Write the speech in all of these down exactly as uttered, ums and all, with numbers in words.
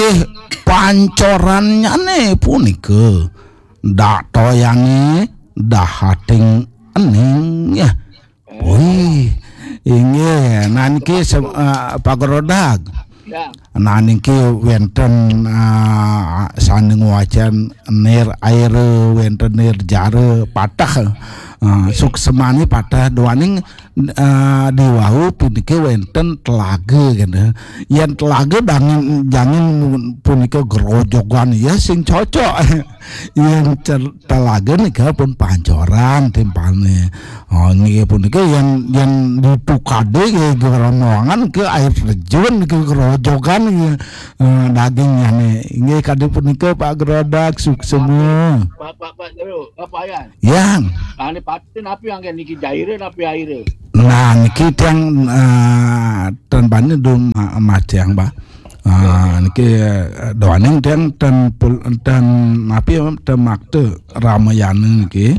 Eh, pancorannyane punika. Dak toyane dahating ening ya. Wih, inggih, nah niki sem- eh, Pak Grodag. Ya. Nah niki wenten eh, sane ngwacen nir air, wenten nir jara patah. Eh, suksemane patah duaning eh, di wau puniki wenten telaga kene. Yen telaga dangin jangin punika grojogan ya sing cocok. Yen cer- telaga nika pun pancoran timpane. Oh, nggih punika yen yen ditukade nggih geromongan ke air terjun ke grojogan nggih eh, dagingnya nih. Nggih kadi punika Pak Grodak suksema. Pak, Pak, Pak, Jero, Pak Yan. Yang. Ane patin api yang niki jaire api aire. Nah, niki tiang eh, tan bani dum ma- matiang, Pak. Ah, niki eh, doaning tiang ten pul ten api ten makte Ramayana niki.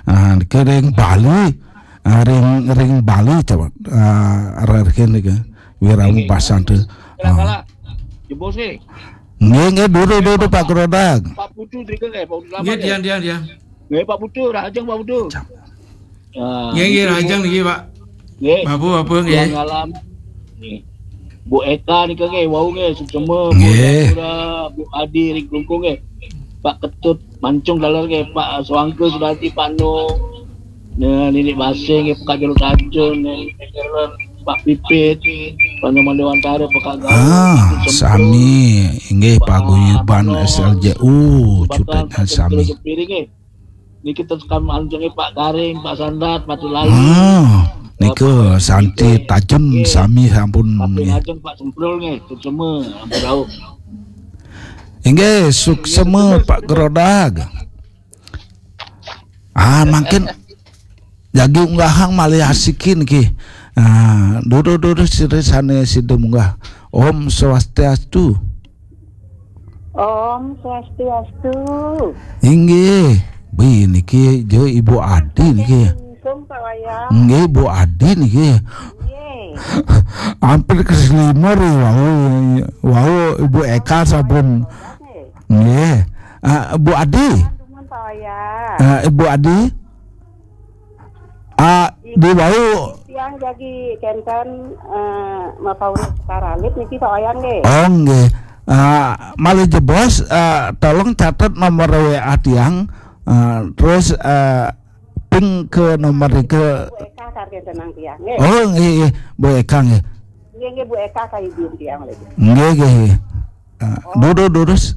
Ah, niki ring Bali. Ah, ring ring Bali coba. Ah, rerkin niki. Wiramu Niki. Basante. Kala-kala. Ah. Jebos nggih. Nggih, nggih, dulu dulu Pak Grodag. Pak Putu tiga nggih, Pak Putu Nggih, lama nggih. Dian, dian, dian. Nggih, Pak Putu, Rahajeng Pak Putu. Cak. Ah, Nggih, nggih, niki, Rahajeng niki, Pak. Nggih. Bapu, bapu, nggih. Yang alam. Nggih. Bu Eka nika nggih, wau nggih, suksema, Bu Nggih. Dapura, Bu Adi, ring Klungkung nggih. Pak Ketut, Mancung daler nggih, Pak Suangke, Sudati, Pak Nu. Nah, Nini Basing nggih, Pak Jero Tacun, Nini Tegeron, Pak Pipit, Pak Nyoman Dewantara, Pak Gaul, Ah, Pak Sempur, sami inggih Pak paguyuban Anwar, S L J U, Pak Batan, cutetnya Pak Centil sami. Jepiri nggih. Niki tekan anjunge Pak Garing, Pak Sandat, Pak Tulali. Ah, nika Pak santi Ipin, tajun nggih. Sami sampun Tapi nggih. Ngajeng Pak Semprul nggih, semua ampun rauh. Inggih, suksema Pak Grodag. Ah, mangkin jagi unggahang malih asikin ki. Ah, duduk-duduk sira sane sida munggah. Om Swastiastu. Om Swastiastu. Inggih, bi niki jo Ibu Adi niki. Assalamualaikum, Pak Wayan. Nggih, Ibu Adi niki. Nggih. Hampir keselimur ya, wau, wau Ibu Eka sampun. Nggih. Ah, Bu Adi. Teman Pak Wayan. Ah, Ibu Adi. Ah, di wau. Tiang jagi kenten eh, mapaurus karalit niki Pak Wayan nggih. Oh, nggih. Ah, malih jebos, ah, tolong catet nomor W A tiang. Ah, terus ah, ping ke nomor ke Bu Eka sargen tenang tiang nggih. Oh, nggih, nggih. Bu Eka nggih. Nggih, nggih, Bu Eka ka izin tiang lagi. Nggih, nggih. Ah, duduk, durus.